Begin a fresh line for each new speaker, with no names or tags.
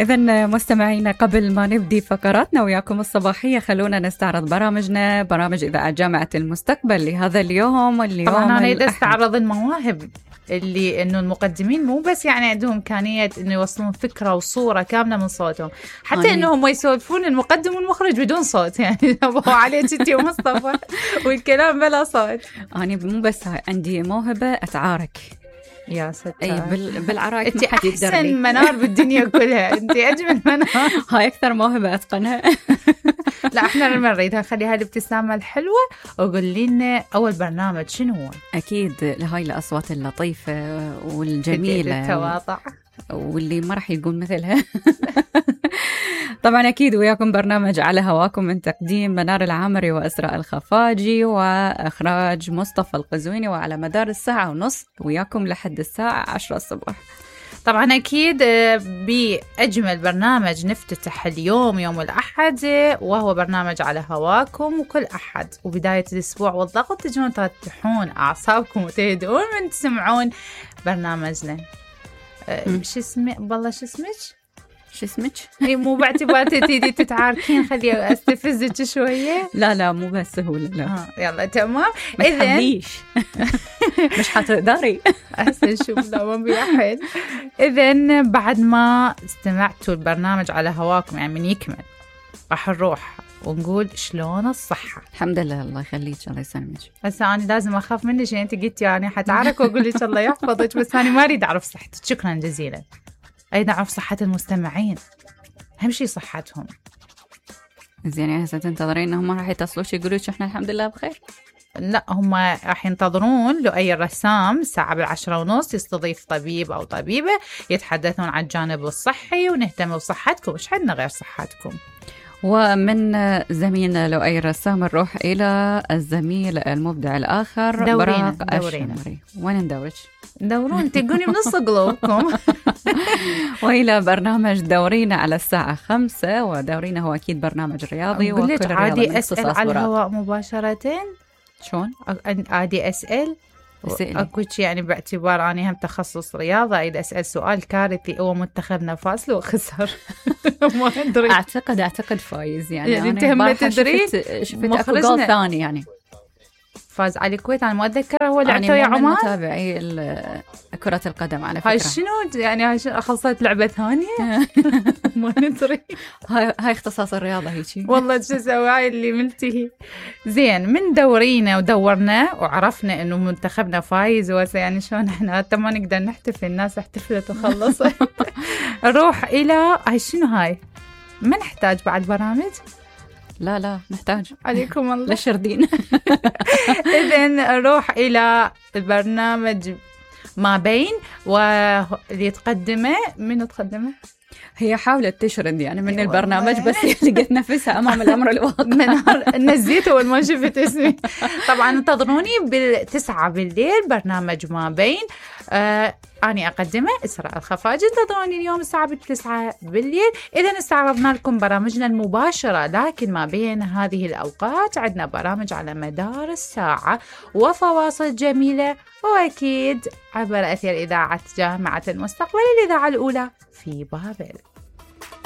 إذن مستمعينا، قبل ما نبدي فقراتنا وياكم الصباحية، خلونا نستعرض برامجنا، برامج إذاعة جامعة المستقبل لهذا اليوم.
طبعا أنا أريد أستعرض المواهب اللي إنه المقدمين مو بس يعني عندهم إمكانية إنه يوصلون فكرة وصورة كاملة من صوتهم، حتى إنهم يسولفون المقدم والمخرج بدون صوت، يعني أبو عليك أنت ومصطفى والكلام بلا صوت.
أنا مو بس عندي موهبة أتعارك.
يا ستار.
أي بالعرايك
ما حد يقدر. أحسن منار بالدنيا كلها، أنت أجمل منار.
هاي أكثر موهبة أتقنها.
لا إحنا لما نريدها خليها الابتسامة الحلوة، وقول لنا أول برنامج شنو هو؟
أكيد هاي الأصوات اللطيفة والجميلة
التواضع
واللي ما راح يقول مثلها. طبعا أكيد وياكم برنامج على هواكم من تقديم منار العامري وأسراء الخفاجي وإخراج مصطفى القزويني، وعلى مدار الساعة ونص وياكم لحد الساعة 10 الصبح.
طبعا أكيد بأجمل برنامج نفتتح اليوم يوم الأحد، وهو برنامج على هواكم، وكل أحد وبداية الأسبوع والضغط تجون ترتاحون أعصابكم وتهدؤون من تسمعون برنامجنا. شو اسمه والله؟ شو اسمك؟ اي مو باعتبار تيجي تتعاركين، خلي استفزك شويه.
لا مو بس سهوله، لا.
يلا تمام.
اذا مش حتقدري.
احسن شوف لا ما بيحل. اذا بعد ما استمعتوا البرنامج على هواكم يعني من يكمل راح نروح ونقول شلون الصحة.
الحمد لله، الله يخليك، الله يسلمك.
بس أنا لازم أخاف منك، عشان أنت قلتي يعني حتعارك وأقول لك الله يحفظك، بس أنا ما أريد أعرف صحتك. شكرا جزيلا. أريد أعرف صحة المستمعين، أهم شيء صحتهم.
زين، يعني هسه تنتظرين إنهم راح يتصلوش يقولوش إحنا الحمد لله بخير؟
لا، هم راح ينتظرون لؤي الرسام الساعة 10:30 يستضيف طبيب أو طبيبة يتحدثون عن الجانب الصحي، ونهتم بصحتكم، مش عندنا غير صحتكم.
ومن زميلنا لؤي الرسام نروح إلى الزميل المبدع الآخر
دورينا.
وين ندورش؟
دورون تقولي بنص قلوبكم.
وإلى برنامج دورينا على الساعة 5. ودورينا هو أكيد برنامج رياضي،
وكل عادي أسأل على الهواء مباشرة.
شون؟
عادي أسأل أكو شيء يعني، باعتبار أنا هم تخصص رياضة أريد أسأل سؤال كارثي. هو منتخبنا فاز لو خسر؟ ما أدري.
أعتقد فايز يعني
أنت هم تدرين
شفت أكو جول ثاني يعني
فاز على الكويت. أنا ما أتذكر هو لعبته يا عمان.
متابعي كرة القدم على فكرة.
هاي شنو يعني؟ هاي خلصت لعبة ثانية؟ ما ندري.
هاي اختصاص الرياضة هيك.
والله شو سوي هاي اللي ملتهي. زين، من دورينا ودورنا وعرفنا إنه منتخبنا فايز، يعني شلون إحنا حتى ما نقدر نحتفل، الناس احتفلت وخلصت. نروح إلى هاي شنو هاي؟ ما نحتاج بعد برامج؟
لا نحتاج.
عليكم الله.
لشردين.
إذن نروح إلى البرنامج ما بين، واللي تقدمه منو تقدمه؟
هي حاولت تشرد يعني من البرنامج، بس لقيت نفسها أمام الأمر الواقع.
نزيت أول ما شفت اسمي. طبعا انتظروني 9 بالليل برنامج ما بين. أنا أقدمه إسراء الخفاجي. انتظروني اليوم الساعة 9 بالليل. إذا استعرضنا لكم برامجنا المباشرة، لكن ما بين هذه الأوقات عندنا برامج على مدار الساعة وفواصل جميلة، وأكيد عبر أثير إذاعة جامعة المستقبل، الإذاعة الأولى في بابل.